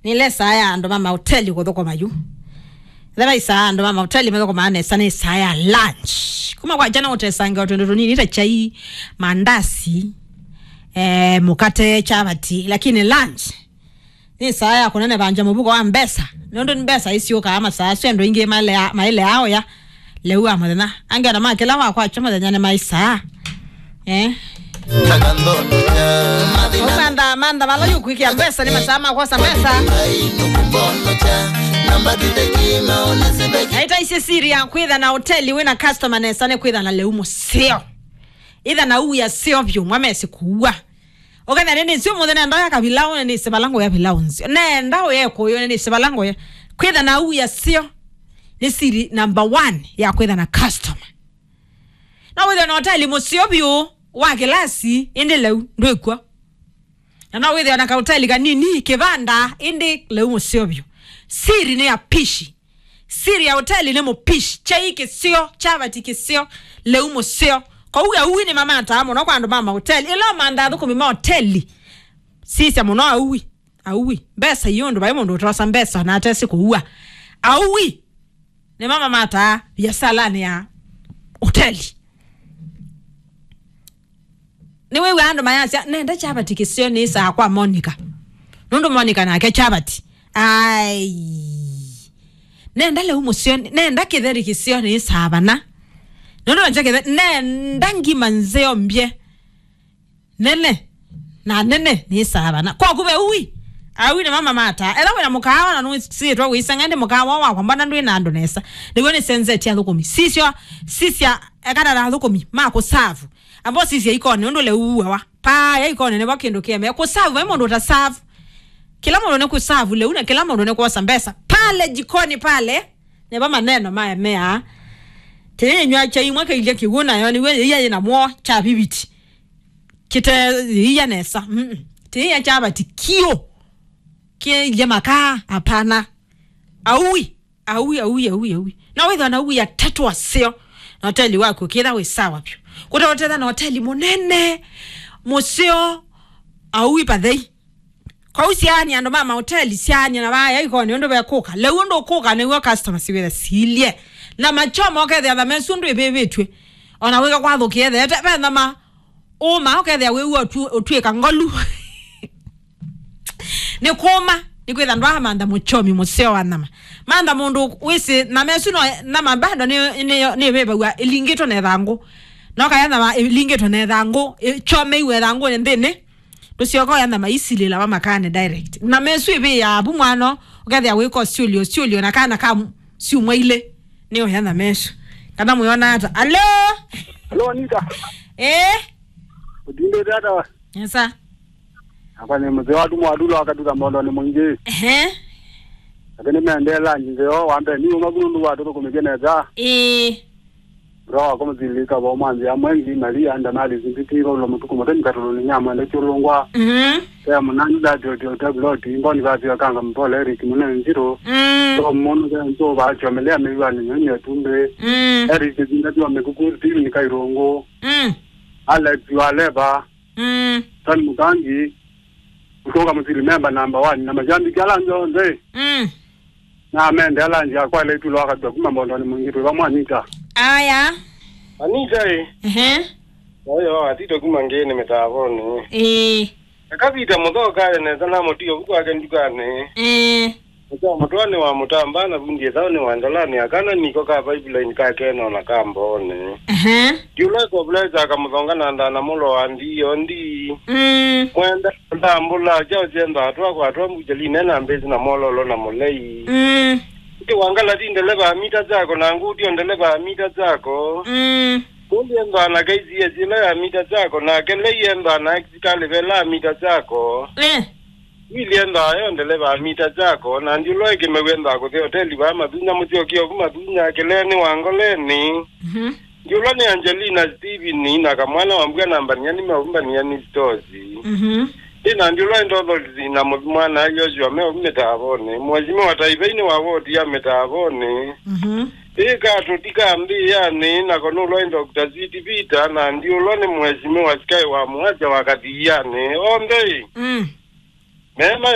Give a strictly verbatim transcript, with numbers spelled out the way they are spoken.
Nĩ ĩla ĩsaa ya andũ ma mahoteli kũthũkũma yu. Ĩla ĩsaa andũ ma mahoteli mathũkũmaa nesa nĩ ĩsaa ya lunch. Kuma kwa jana ũtesange o twĩndũ tũnini ta chai, mandasi, eh, mũkate, chapati, lakini lunch nĩ ĩsaa ya kũnenevangya mũvuko wa mbesa. Nũndũ nĩ mbesa isyũkaa masaa asu andũ aingĩ malea-, mailea oya lĩu wa mũthenya. Angĩ ona ma kĩla wakwakya mũthenya nĩ maisaa. Eh? Mantha, mantha vala yũkwĩkĩa mbesa nĩ masaa ma kwosa mbesa. Naitaisye siri ya kwĩtha na hoteli wĩna customer nesa nĩ kwĩtha na lĩu mũseo. Ĩtha na ũw'o seo vyũ, mwa mesi kũua. Ũkethĩa nĩnĩsĩ ũmũnthĩ nenda ya kavilaũ, nĩnĩsĩ vala ngũya vilaũ nzeo. Nenda ũya ĩkũyũ, nĩnĩsĩ vala ngũya. Kwĩtha na ũw'o seo nĩ siri number one ya kwĩtha na customer. No wĩthĩwe na hoteli mũseo vyũ wa kĩlasi, ĩndĩ lĩu ndwĩkw'o. Na no wĩthĩwe na kahoteli kanini, kĩvanda, ĩndĩ lĩu mũseo vyũ. Siri nĩ ya pishi. Siri ya hoteli nĩ mũpishi. Chai kĩseo, chapati kĩseo, lĩu mũseo. Kwoou aui nĩmamataa mũno kwa andũ ma mahoteli. Ĩla ũmanthaa athũkũmi ma hoteli, sisya mũno aui. Aui. Mbesa ii ũndũ vai mũndũ ũtosa mbesa na atesĩ kũua. Aui nĩmamamataa viasalanĩ ya hoteli. Nĩwĩw'a andũ mayasya, "Nenda chapati kĩseo nĩsaa kwa Monica." Nũndũ Monica nake chapati. Ai. "Nenda lĩu mũseo, nenda kĩtheri kĩseo nĩsaa vana." Nũndũ nakyo kĩtheri, "Nenda ngima nzeo mbye. Nene. Na nene nĩsaa vana." Kwaku ve ui. Aui nĩmamamataa. Etha wĩna mũkaawa na nũsĩtwe wĩsanga ĩndĩ mũkaawa wakwa mbona ndwĩ na andũ nesa. Nĩw'o nĩsenzetye athũkũmi. Sisyo, sisya ekana na athũkũmi ma kũsavu. Ambao sisya ikoni, ũndũ lĩu uawa. Paa ya ikoni nĩvo kĩndũ kĩeme. Kũsavu, vai mũndũ ũtasavu. Kĩla mũndũ nĩ kũsavu lĩu na kĩla mũndũ nĩ kwosa mbesa. Pale jikoni pale, nĩvo maneno maemeaa. Tĩyĩnywa chai imwe kĩilye kĩw'ũ nayo nĩw'o yĩia yĩna mwo cha viviti. Kĩte yĩia nesa. Mm-mm. Tĩyĩia chapati kĩũ. Kĩilye makaa, hapana. Aui. Aui, aui, aui, aui. Na wĩthwa na aui atatũ aseo. Na hoteli waku ũkĩtha wĩ sawa vyũ. Kũtaũtetha na hoteli mũnene, mũseo, aui pathei. Kwoou syaani andũ ma mahoteli, syaani na vaya ikoni ũndũ vekũka. Lĩu ũndũ ũkũka nĩw'o customers wĩthe silye. Na machoma ũkethĩa thama ĩsu ũndũ ĩvĩvĩtw'e. Ona wĩka kwathũkĩe theete, ve thama ũũma, ũkethĩa wĩw'a ũtu-, ũtw'ĩka ngolu. Nĩ kũũma, nĩ kwĩtha ndwaamantha mũchomi mũseo wa nyama. Mantha mũndũ wĩsĩ nyama ĩsu no nyama bado nĩ, nĩ, nĩvĩvaw'a ĩlingĩtwe na ĩthangũ. No kaya nyama ĩlingĩtwe na ĩthangũ, ĩchomeiwe ĩthangũnĩ nthĩnĩ, ndũsyoka ũya nyama isilĩlawa makaanĩ direct. Nyama ĩsu ĩvĩaa vu mwano, ũkethĩa wĩka ũsyũlyo, ũsyũlyo na kana ka syumwa ilĩ. Nĩ ũya nyama ĩsu. Kana mwĩona ata? Alo? Alo, Anita. Eh? Ũtindĩte ata we? Nesa. Nakwa nĩ mũtheo wa tumo wa dula wakatuka mondo nĩ mũingĩ. Ehe. Lakini mendee lunch nzeo wa mbee. Ni ũma kunu ndugu watoto kumĩke neza. Eh. Bro, kama zilika wa mwanzi ya mwengi, Maria, anda mali zipiti, kwa ulo mtuku, mtani katolo ni nyama, ndio chulungwa. Mhm. Kaya munani dati, oti, oti, oti, mboni vati ya kanga mpole, Eric, mune nziro. Mm. So, mono, so, ba, chomelea, miwa, ni nyonyo, tumbe. Mm. Eric, zinga, tiwa, mekuku, Steven, Kairungu. Mm. Alex, Waleva. Mm. Tony Mukangi, Utonga Musili member number one, na majambiki ala onthe. Mm. Na mende ala nzia kwa ile itulo akatwa kuma mbondoni mwingi twa mwanita. Aya. Anita, eh. Ehe. Oyo atito kuma ngeni mitavoni. Eh. Akavita muthoka nesa na mutio kwake ndukani. Eh. Mũtwaanĩ wa mũtamba na vundi ĩthaũnĩ wa ndalani akana niko ka pipeline ka keno na ka mboonĩ. Ehe. Ndiũla ĩkovulesa akamuthonga na ndana mũlo wa ndiyo ndi. Mm. Mwenda ndambũla kyao kyenda atwa kwa atwa mbuchaline na mbesi na mololo na mũlei. Mm. Ndi wangala ti ndeleva mita chako na ngutio ndeleva mita chako. Mm. Kundi enda na K C S ila ya mita chako na kelei enda na Exitali vela mita chako. Eh. Wili endaa yo ndeleva wa mita chako, na ndiũlwa ĩkĩmew'a endaa kũthi hoteli vaa Mathunya mũsyokie ovu Mathunya, kĩleenĩ wa ngoleni. Mhm. Ndiũlwa nĩ Angelina Steven na kamwana wa mbua na mbania nĩ maumbania nĩ stosi. Mhm. Ĩ na ndiũlwa ĩ Dorothy na mũthi mwana Joshua me ovu mĩtaavonĩ. Mheshimiwa Taivei nĩ wa wodi ya mĩtaavonĩ. Mhm. Ĩ katũ ti ka mbĩanĩ, nako nũlwa ĩ Doctor Sweet Peter, na ndiũlwa nĩ Mheshimiwa Sky wa Mũasya wa Kathianĩ. Onthe ĩ. Mm. Mema